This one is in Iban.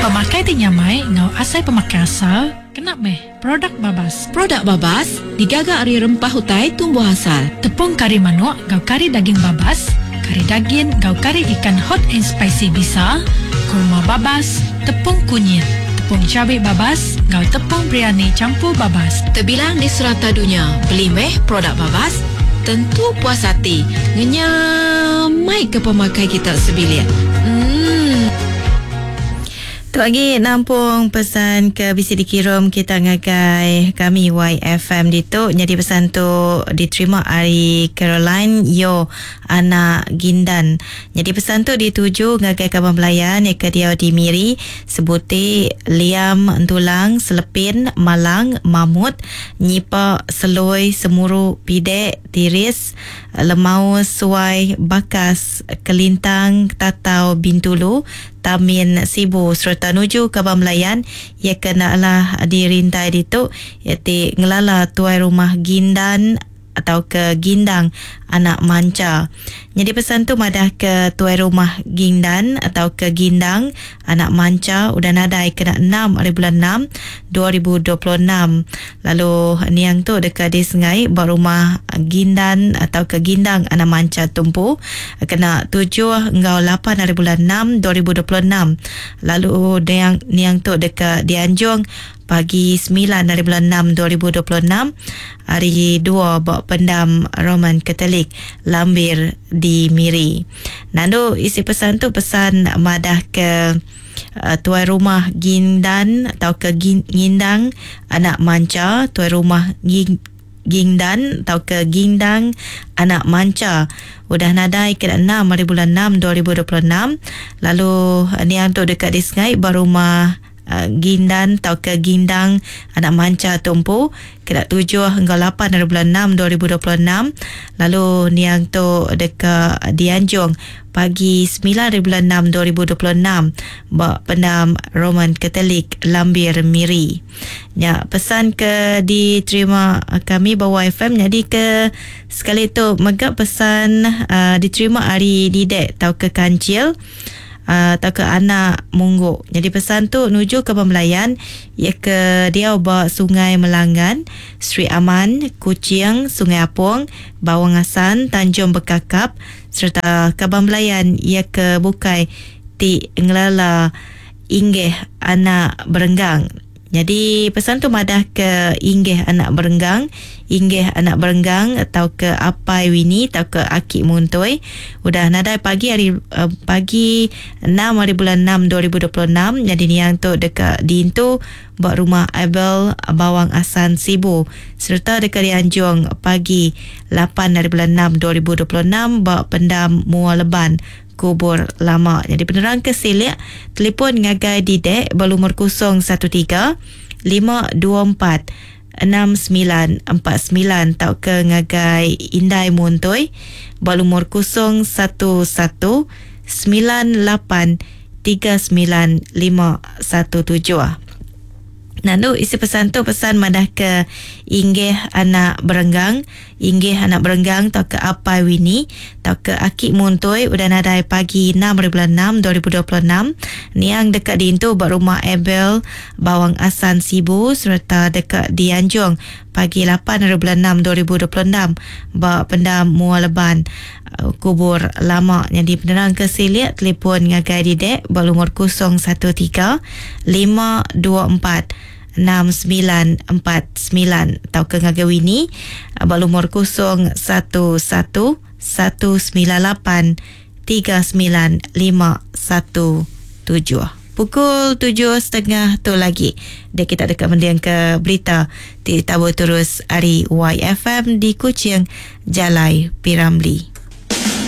Pemakai ti nyamai enggau asai pemakai asal kena meh produk babas. Produk babas digaga ari rempah utai tumbuh asal. Tepung kari manuk enggau kari daging babas, kari dagin enggau kari ikan hot and spicy bisa, kurma babas, tepung kunyit, tepung cabi babas enggau tepung biryani campur babas. Tebilang di serata dunya, beli meh produk babas, tentu puas ati ngenyamaika pemakai kita sebilik. Emm. Tu agi nampung pesan ke bisi dikirum kita ngagai kami YFM ditu. Nyadi pesan tu diterima ari Caroline Yo anak Gindan. Nyadi pesan tu dituju ngagai kaban belayan iya ke diau di Miri, Sebuti, Liam, Entulang, Selepin, Malang, Mamut, Nyipa, Seloi, Semuru, Pidek, Tiris, Lemau, Suai, Bakas, Kelintang, Tatau, Bintulu, Tamin, Sibu sereta nuju kaban belayan iya ke enda alah dirintai ditu iya ti ngelala tuai rumah Gindan tauka Gindang anak Mancha. Nyadi pesan tu madahka tuai rumah Gindan tauka Gindang anak Mancha udah nadai kena enam ari bulan enam 2026 lalu niang tu deka disengai ba rumah Gindan tauka Gindang anak Mancha tu empu kena tujuh enggau lapan ari bulan enam 2026 lalu niang niang tu deka dianjung pagi semilan ari bulan enam 2026 hari dua ba Pendam Roman Katolik Lambir di Miri. Nandu isi pesan tu pesan madah ke tuai rumah Gindan tauka Ngindang anak Mancha, tuai rumah Gingdan tauka Gindang anak Mancha udah nadai kena enam ari bulan enam 2026 lalu niang tu deka disengai ba rumah Gindan tauka Gindang anak Mancha tu empu kena tujuh enggau lapan ari bulan enam 2026 lalu niang tu deka dianjung pagi semilan ari bulan enam 2026 ba Pendam Roman Katolik Lambir Miri. Nya pesan ke diterima kami ba YFM nyadi ke sekali tu mega pesan diterima ari Didek tauka Kancil. Tauka anak munggu. Nyadi pesan tu nuju ke pembelayan iya ke diau ba Sungai Melanggan, Sri Aman, Kuching, Sungai Apong, Bawang Assan, Tanjung Bekakap sereta kaban belayan iya ke bukai ti ngelala Inggih anak Berenggang. Nyadi pesan tu madah ke Inggih anak Berenggang, Inggih anak Berenggang tauka Apai Winnie tauka Aki Muntoi udah nadai pagi hari pagi enam hari bulan enam 2026 nyadi niang tu deka diintu ba Rumah Abel Bawang Assan Sibu sereta deka dianjung pagi lapan hari bulan enam 2026 ba Pendam Mua Leban Kubur lama. Nyadi penerang ke silik, telefon ngagai Didek ba lumur 013 524 6949 tauka ngagai Indai Muntoi ba lumur 011 98 39 517. Nandu isi pesan tu pesan madah ke Inggih anak Berenggang, Inggih anak Berenggang tauka Apai Winnie tauka Aki Muntoi udah nadai pagi enam hari bulan enam 2026 niang deka diintu ba Rumah Abel Bawang Assan Sibu sereta deka dianjung pagi lapan hari bulan enam 2026 ba Pendam Mua Leban Kubur Lama. Nyadi penerang ke silik telefon ngagai Didek ba lumur 013 524 6949 tauka ngagai Winnie ba lumur 011 198 39517. Pukul tujuh setengah tu lagi dia kita deka mendingka berita ti ditabur terus ari YFM di Kuching, Jalai Piramli.